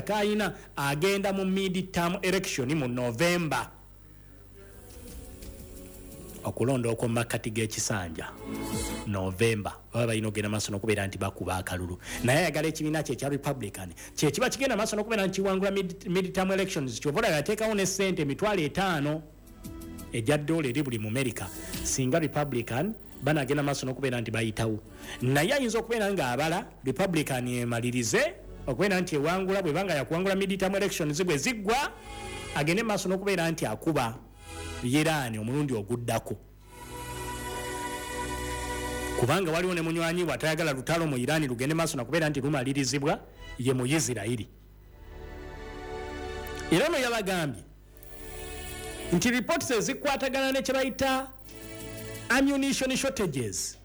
kayina agenda mu mid term election mu November, okulonda okw'omu makkati g'ekisanja November. Baba balina okugenda maaso n'okubeera nti bakuba akalulu, naye ayagala ekibiina kye ekya Republican kyekiba kigenda maaso n'okubeera nti kiwangula mid-term elections. Kyova olaba yateekawo ne ssente 50,000 ejja dola eri buli Mumerika singa Republican banagenda maaso n'okubeera nti bayitawo. Naye ayinza okubeera ng'abala Republican emalirize okubeera nti ewangula, bwebanga yakuwangula mid-term elections, bwe ziggwa agende maaso n'okubeera nti akuba Iran omulundi oguddako, kubanga waliwo ne munywanyi we atayagala lutalo mu Iran lugende maaso nakubeera nti lumalirizibwa, ye mu Isirairi. Era ono yabagambye nti reports ezikwatagana ne kyebayita ammunition shortages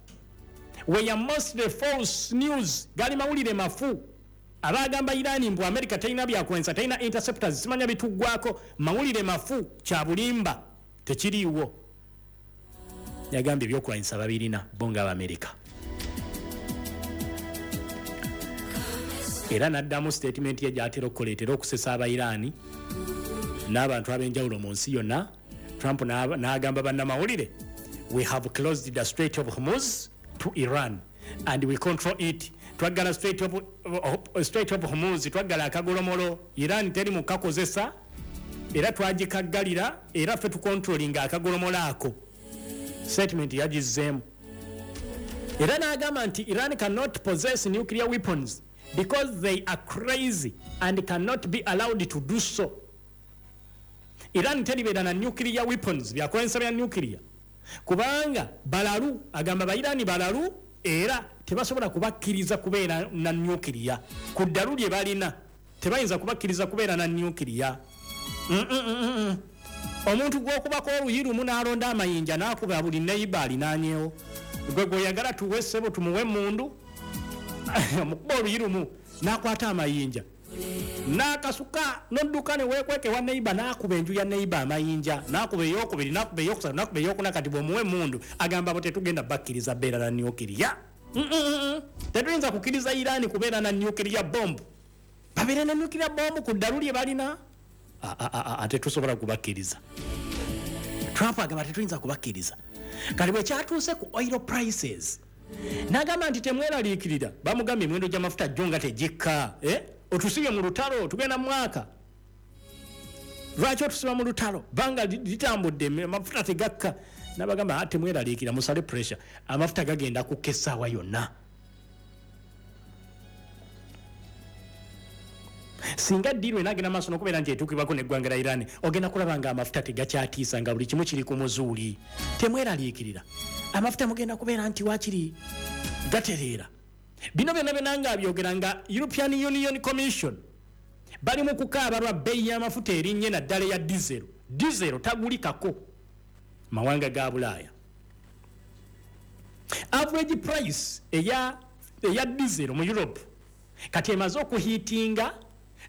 were mostly false news, gali mawulire mafu. Abagamba Iran mbu America talina byakulwanyisa, talina interceptors, simanya bituggwako, mawulire mafu, kya bulimba, tekiriiwo. Yagambye ebyokulwanyisa babirina bo nga Abamerika. Era n'addamu statement ye gyatera okukoleetera okusesa Abairaani n'abantu ab'enjawulo mu nsi yonna. Trump n'agamba bannamawulire, "We have closed the Strait of Hormuz to Iran and we control it." Twaggala Strait of Hormuz, twaggala akagolomolo, Iran teri mukakozesa era twagikaggalira, era ffe tucontrollinga akagolomolo ako. Statement yagizzeemu era n'agamba nti Iran cannot possess nuclear weapons because they are crazy and cannot be allowed to do so. Iran teribeera na nuclear weapons, byakulwanyisa bya nuclear, kubanga balalu. Agamba Bairani balalu era tebasobola kubakkiriza kubeera na nuclear. Ku ddalu lye balina tebayinza kubakkiriza kubeera na nuclear. Omuntu gwokubako oluyi lumu n'alonda amayinja n'akuba buli neighbour alinaanyewo, gwe gweyagala tuwe ssebo tumuwe emundu. Omukuba oluyi lumu n'akwata amayinja n'akasuka n'odduka ne weekweka ewa neighbour, n'akuba enju ya neighbour amayinja, n'akuba eyokubiri, n'akuba eyokusatu, n'akuba eyokuna. Kati bw'omuwa emundu, agamba bo tetugenda bakkiriza beera na nuclear. Tetuyinza kukkiriza Irani kubeera na nuclear bomb, babeere na nuclear bomb ku ddalu lye balina. Tetusobola kubakkiriza. Trump agamba tetuyinza kubakkiriza. Kati bwe kyatuuse ku oil prices, n'agamba nti temweraliikirira. Bamugambye emiwendo gy'amafuta jjo nga tegikka, eh? Otusibye mu lutalo, tugenda mu mwaka, lwaki otusiba mu lutalo? Banga litambudde, amafuta tegakka. Nabagamba, "Ah, temweraliikira, musale pressure, amafuta gagenda kukka essaawa yonna." Singa deal enagenda maaso nokubeera nti etuukibwako neggwanga lya Iran, ogenda kulaba nga amafuta tegakyatiisa, nga buli kimu kiri ku muzuuli. Temweraliikirira, amafuta mugenda kubeera nti wakiri gatereera. Bino byonna byonna nga abyogera nga European Union Commission bali mu kukaaba lwa bbeeyi y'amafuta erinnye, naddala eya diesel. Diesel tagulikako mawanga ga Bulaaya. Average price eya diesel mu Europe kati emaze okuhittinga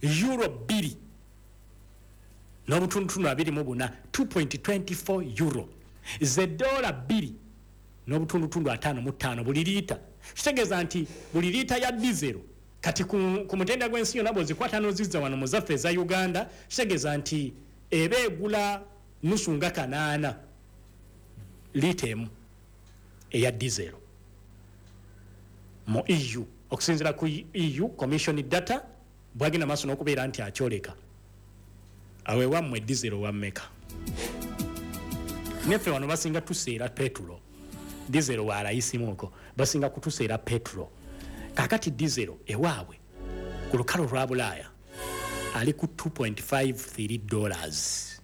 euro 2.24, 2.24 euro, ze dola 2.55 buli liita. Kitegeeza nti buli liita ya diesel kati ku mutenda gw'ensi yonna, bw'ozikwata n'ozizza wano mu zaffe eza Uganda, kitegeeza nti eba egula nusu nga 800 liita emu eya diesel mu EU, okusinziira ku EU Commission data bwagenda maaso n'okubeera nti akyoleka. Awo ewammwe diesel wammeka? Neffe wano basinga tuseera petulo, diesel walayisimuko, basinga kutuseera petulo. Kakati diesel ewaabwe ku lukalo lwa Bulaaya ali ku $2.53.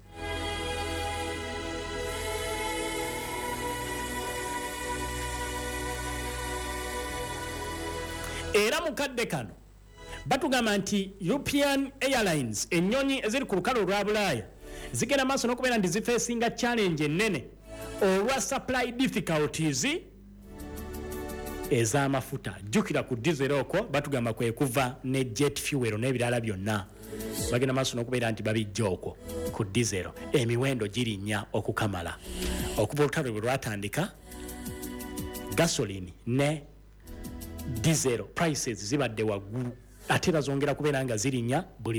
Era mu kadde kano batugamba nti European Airlines, ennyonyi eziri ku lukalo olwa Bulaaya, zigenda maaso n'okubeera nti zifacinga challenge ennene olwa supply difficulties ez'amafuta. Jjukira ku diesel okwo batugamba kwe kuva ne jet fuel n'ebirala byonna, bagenda maaso n'okubeera nti babijja okwo ku diesel. Emiwendo girinnya okukamala. Okuva olutalo bwe lwatandika, gasoline ne diesel prices zibadde waggulu, ate era zongera kubeera nga zirinnya buli